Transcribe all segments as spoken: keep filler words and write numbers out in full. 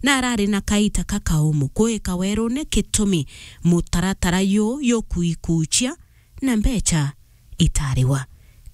na arari na kaita kakaumu kuika werune gitumi mutaratara yu yukuikucia na mbecha itariwa.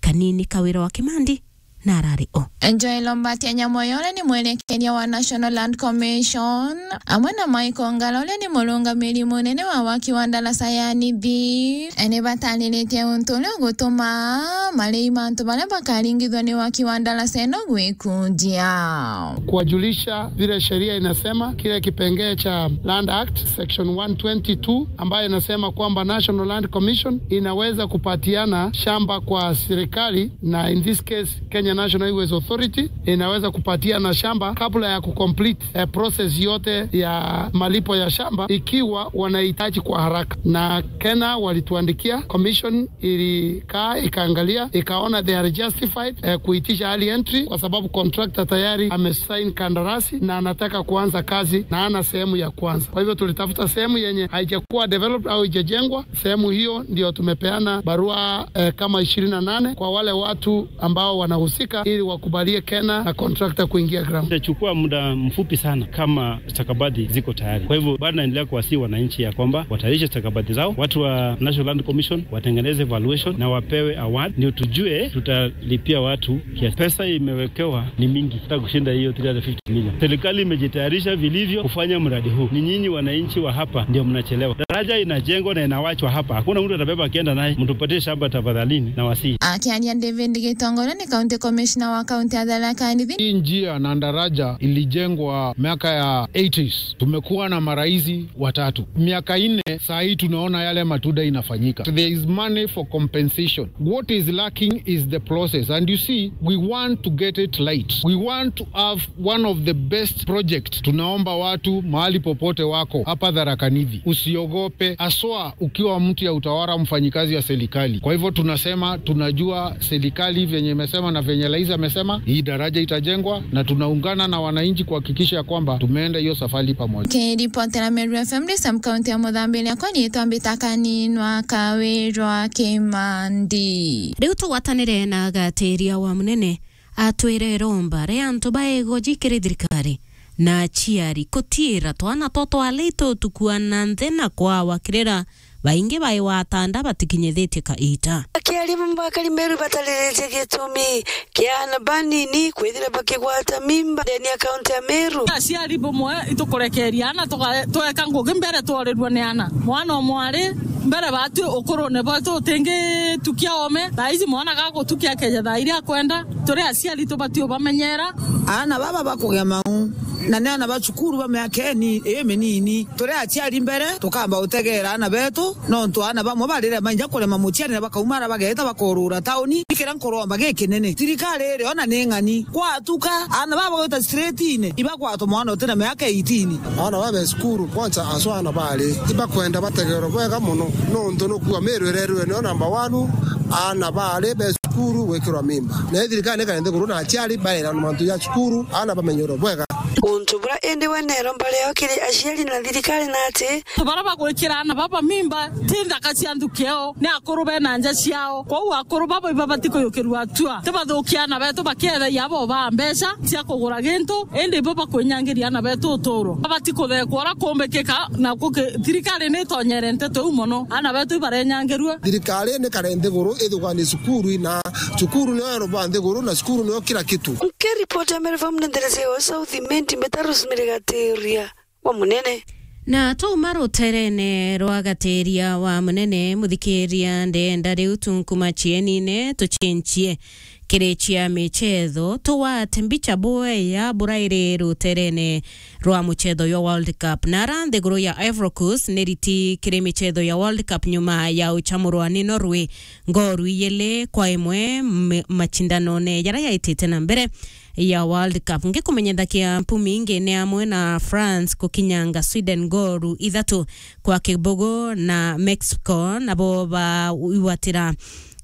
Kanini Kawira wa Kimandi na arari o. Joel Ombatia Nyamoyo, uria ni mwerekeria wa National Land Commission, amwe na Michael Ngala, uria ni murungamiri munene wa waki wa ndaraca ya Nithi, ni batariritie untu uria ugutuma marei mantu baria bakaringithwa ni waki wa ndaraca ino gwikunjia. Kuwajulisha vile sheria inasema, kile kipengee cha Land Act section one twenty-two, ambayo inasema kwamba National Land Commission inaweza kupatiana shamba kwa serikali, na in this case Kenya National Highways Authority inaweza kupatiana shamba kabla ya kucomplete, eh, process yote ya malipo ya shamba, ikiwa wanahitaji kwa haraka. Na Kenya walituandikia, commission ilikaa ikaangalia, ikaona they are justified, eh, kuitisha early entry kwa sababu contractor tayari amesign kandarasi na anataka kuanza kazi na ana sehemu ya kwanza. Kwa hivyo tulitafuta sehemu yenye haijakuwa developed au haijajengwa. Sehemu hiyo ndio tumepeana barua, eh, kama ishirini na nane kwa wale watu ambao wanahusika ili wakubalie Kenya na contractor kuingia ground. Itachukua muda mfupi sana kama stakabadhi ziko tayari. Kwa hivyo bado naendelea kuwasihi wananchi ya kwamba watayarishe stakabadhi zao. Watu wa National Land Commission watengeneze valuation na wapewe award, ndio tujue tutalipia watu kiasi. Pesa imewekewa ni mingi, hata kushinda hiyo three hundred fifty million. Serikali imejitayarisha vilivyo kufanya mradi huu. Ni nyinyi wananchi wa hapa ndio mnachelewa. Daraja inajengwa na inawachwa hapa. Hakuna mtu atabeba akienda naye. Mtupatie shamba tafadhalini, na wasihi. Akiaria David Gitonga, ni county commissioner wa county ya Tharaka Nithi. Hii njia na daraja ilijengwa miaka ya eighties. Tumekuwa na marais watatu. Miaka nne, saa hii tunaona yale matunda inafanyika. There is money for compensation. What is lacking is the process. And you see, we want to get it right. We want to have one of the best projects. Tunaomba watu mahali popote wako hapa Tharaka Nithi, usiogope, haswa ukiwa mtu ya utawala, mfanyikazi ya serikali. Kwa hivyo tunasema, tunajua serikali venye imesema na venye rais amesema, hii daraja itajengwa, na tunaungana na wananchi kuhakikisha ya kwamba tumeenda hiyo safari pamoja. Kiripotera Meru F M, ndi sub county ya Muthambi, riakwa riitwa Mbita Kaninwa Kawirwa Kimandi. Riu tugwatanire na gatiria wa munene atwire iromba ria antu ba igoji kiri thirikari na aciari kutiira twana two twari tutukua na nthi na kwawakirira baingi bai watanda batikinyithitie kaita. Akiaria bamwe bakari Meru batariritie gitumi kia aana banini kwithira bakigwata mimba ndeni ya kaunti ya Meru. Aciari bamwe itukurekeria aana tuka-, tweka ngugi mbere tworirua ni aana. Mwana o mwari mbere batwi ukurune bwetu utingitukia ome. Thaa ici mwana gagutukia akeja thaa iria akwenda. Turi aciari tubati ubamenyera. Aana baba bakugia mau, na ni aana ba cukuru ba miaka ini-, iminini. Turi aciari mbere, tukamba utegeera aana betu, nontu aana bamwe barire mainja kurema muciari na bakauma ara bageeta bakorura tauni. Ikira nkuromba gikinene, thirikari iri ona ni ng'ani, gwatuka aana baba bagwita straight-ini, ibagwatwa mwana utina miaka eighteen. Aana baba be cukuru, kwanza aswa aana bari, ibakwenda bategeerwe bwega mono, nontu nukua Meru irerwe niyo number one, aana bari be cukuru gwikirwa mimba. Na thirikari ni kaende kuru na aciari baira na mantu ya cukuru, aana bamenyerwe bwega. Untu bura indi we nero mbari yao kiri aciari na thirikari na ati. Antu bara bagwikira aana baba mimba, ti nthaka cia nthuki yao, ni akuru bena nja ciao. Kwou akuru baba ibabati kuyukirua atua. Tibathukia aana betu bakiethagia abo baa mbeca cia kugura gintu, indi ibo bakwinyangiria aana betu uturo. Babati kuthekwa uria kumbikika, na kuki-, thirikari ni itonyere nteto iu mono. Aana betu ibarenyangirua. Thirikari ni kare nthiguru ithugani cukuru na cukuru niyo ero ba nthiguru na cukuru niyo kila kitu. Nkiripoti ya Meru F M ni nderesi ya South Imenti, Mbita Rosemary Gatiria wa Munene. Na twauma ruterene rwa Gatiria wa Munene, muthikiria, ndenda riu tunkuma cienine tucinchie kiri cia michetho, tugwate mbicha bwega burairi ruterene rwa muchetho jwa World Cup. Na ara nthiguru ya Ivory Coast ni riti kiri michetho ya World Cup nyuma ya uchamurwa ni Norway ngoru ijiri kwa imwe m-, machindanone jaria jaitite na mbere ya World Cup. Ngikumenyethakia mpumi ingi ni amwe na France kukinyanga Sweden ngoru ithatu kwa kibugu, na Mexico nabo baigwatira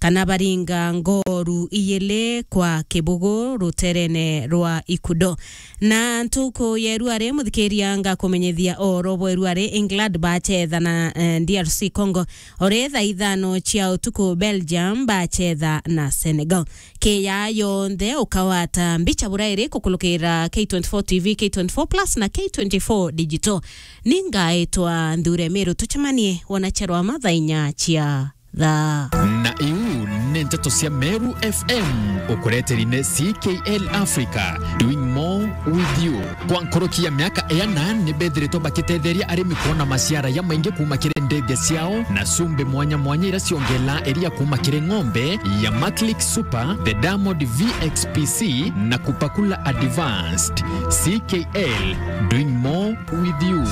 kana baringa ngoru iyili kwa kibugu ruterene rwa Ikudo. Na ntuku ya iruari, muthikiria, ngakumenyithia uhoro bwa iruari. England bachetha na, eh, D R C Congo, ori thaa ithano cia utuku Belgium bachetha na Senegal. Kiya yonthe ukawata mbicha burairi kukulukira K twenty-four T V, K twenty-four Plus na K twenty-four Digital. Ningaitwa Nthure Miru, tucemanie wona cherwa mathaa inya cia thaa. Na iu ni nteto cia Meru F M, ukureteri ni C K L Africa, doing more with you. Kwa nkoroki ya miaka iana, ni bethiritwe bakitetheria arimi kwona maciara ya maingi kuma kiri ndege ciao na cumbi mwanya mwanya ira ciongela iria kuma kiri ng'ombe ya Maclick Super, the Diamond V X P C na Kupakula Advanced. C K L, doing more with you.